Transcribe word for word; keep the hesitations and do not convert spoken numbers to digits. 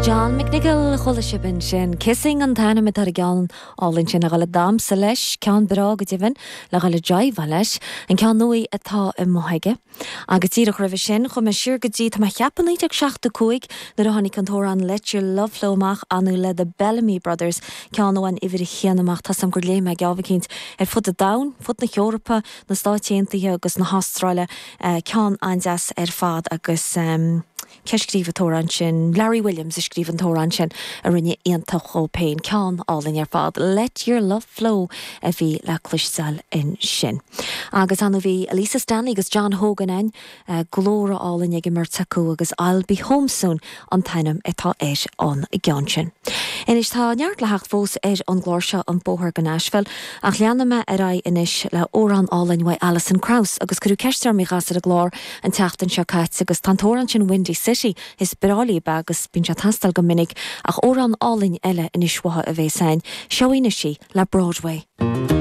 John McNicholl chuala sibh ansin. Kissing an t-ainm atá ar an gceann álainn sin a ghabháil ag damhsa leis, ceann breá go deimhin le ghabháil ag jiveáil leis, an ceann nua atá amuigh aige. Agus díreach roimhe sin chuaigh mé siar go dtí tá mé ag ceapadh naoi déag seachtó cúig nuair a tháinig an t-amhrán Let Your Love Flow amach anú le The Bellamy Brothers ceann ó an uimhir a haon amach tá sam gur léim mé geábhaicínt ar fud an domhain, fud na hEorpa, na Stáit Aontaithe agus na hAstráile ceann an-deas ar fad agus um, cé a scríobh an t-amhrán sin Larry Williams a scríobh an t-amhrán sin a rinne iontach dhó féin ceann álainn ar fad. Let your love flow a bhí le cloisteáil ansin. Agus ann bhí Lisa Stanley agus John Hogan ann uh, glór álainn ag an mbeirt acu agus I'll be home soon an t-ainm atá ar an gceann sin. Anois tá neart le theacht fós ar an gclár seo an bóthar go Nashville ach leanfaidh mé ar aghaidh anois le amhrán álainn uaidh Alison Krauss agus cuireadh ceist orm í a chasadh ar an gclár an tseachtain seo caite agus tá an t-amhrán sin Windy City is breá léi agus bíonn sé ag teastáil go minic ach amhrán álainn eile anois uaithi a bheas ann, seo í anois le Broadway.